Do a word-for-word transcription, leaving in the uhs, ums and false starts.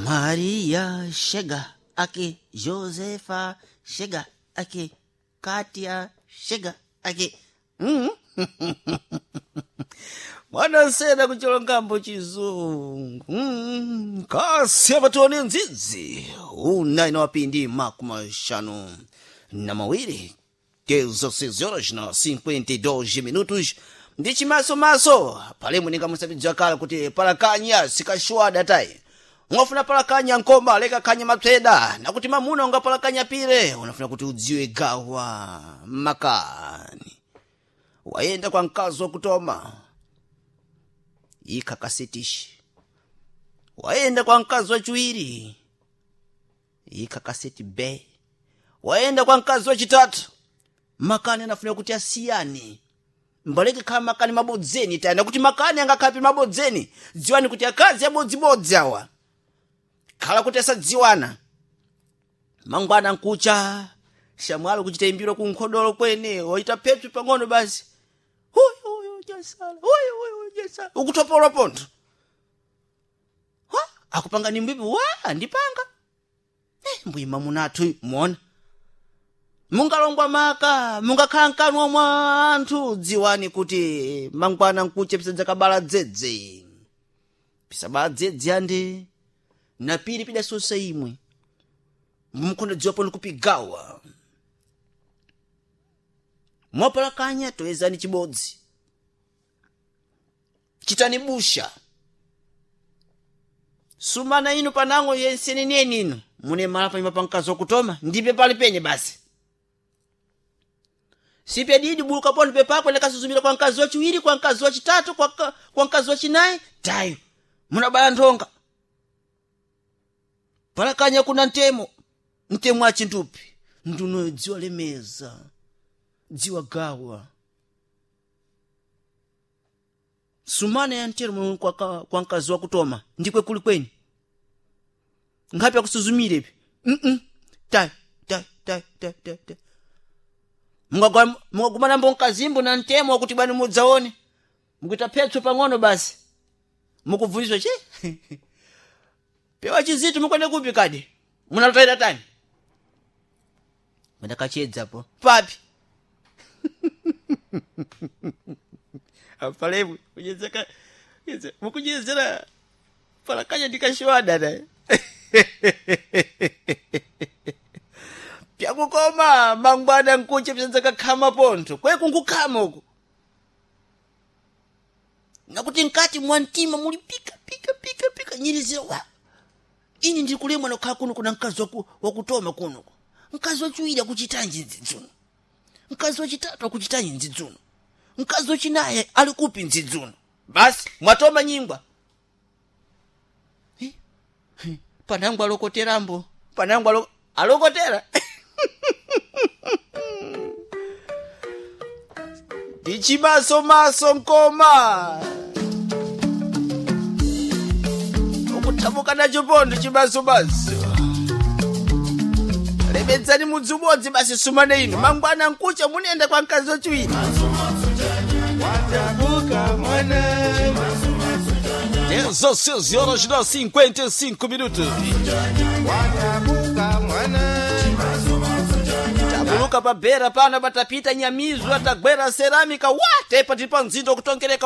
Maria chega aqui, Josefa chega aqui, Kátia chega aqui. Hum? Mwanasena kucholongambo chizungu mm. Kasi apatione nzizi una inawapindi makumi mashanu na mawiri dezesseis horas na cinquenta e dois minutos ndi chimasomaso pale muninga musabidza kala kuti palakanya sikashwada tayi ungafuna palakanya nkoma leka khanya mapseda nakuti mamuna ungapalakanya pire unafuna kuti udziwe gawa makani wayenda kwa mkazi wakutoma ikha kasetishi wayenda kwa mkazi wachiwiri ikha kaseti b wayenda kwa mkazi wachitatu makani anafuna kuti asiyane mbaleke khala makani mabodzeni tayana kuti makani angakhapi mabodzeni dziwani kuti akazi abodzibodzi awa khala kuti asadziwana mangwana nkucha shamwalo kuchita imbiro kunkhodolo kwene waita phepsi pang'ono basi huyu huyu jasala huyu huyu jasala ukutopolwa pontho wa akupanga ni mbipi wa ndipanga eh mbuyi mamunathu muona mungalongwa maka mungakhala mkanwa mwa anthu dziwani kuti mangwana nkuche pisadzakabala dzedze pisabala dzedze ande napiri pidasosa imwe mukhondo dziwa pano kupigawa mwapalakanya toyezani chibodzi chitani busha sumana inu panango yenseneneni inu mune mala panyumba pa mkazi wakutoma ndipe pali penye basi sipe didi buluka pano pepako lekasuzumira kwa mkazi wachiwiri kwa mkazi wachitatu kwa, kwa mkazi wachinayi tayo munabaya nthonga palakanya kuna ntemo ntemo achintupi ndunoyo dziwa lemeza dziwa gawa sumana ya ntero kwa, kwa mkazi wakutoma ndikwe kuli kweni nkhapi akusuzumire mm -mm. tayo tayo tayo tayo tayo tayo mungagumana mbo mkazimbo na ntemo wakuti bwani mudzaone mukuita phetso pang'ono basi mukubvunziswa che pewa chizitu mukwende kupi kadi munalotaita tani mudakachedzapo papi apalebwe kunyezeka mukunyezera palakanya ndikashiwada naye pyakukoma mangwana nkuche pisadzakakhama pontho kwe kunkukhama uku nakuti mkati mwa mtima muli pika pika pika pika nyirizira wa ini ndikulemwa nokhala kuno kuna mkazi waku, wakutoma kuno mkazi wachiwiri akuchitanji nzidzuno mkazi wachitatu akuchitanji nzidzuno mkazi wachinayi ali kupi nzidzuno basi mwatoma nyingwa Eh, eh, panangwa alokoterambo panangwa alo, alokotera ndichimasomaso nkoma ukuthamuka nacho pontho chimasomaso lemedzani mudzi umodzi basi sumane inu mangwana nkucha munenda kwa mkazi wachiwiri Watabuka mwana Dezesseis horas na cinquenta e cinco minutos. Watabuka mwana tabuluka pabera pano patapita nyamizwa tagwera seramika watepa tili pa mzinda kutongereka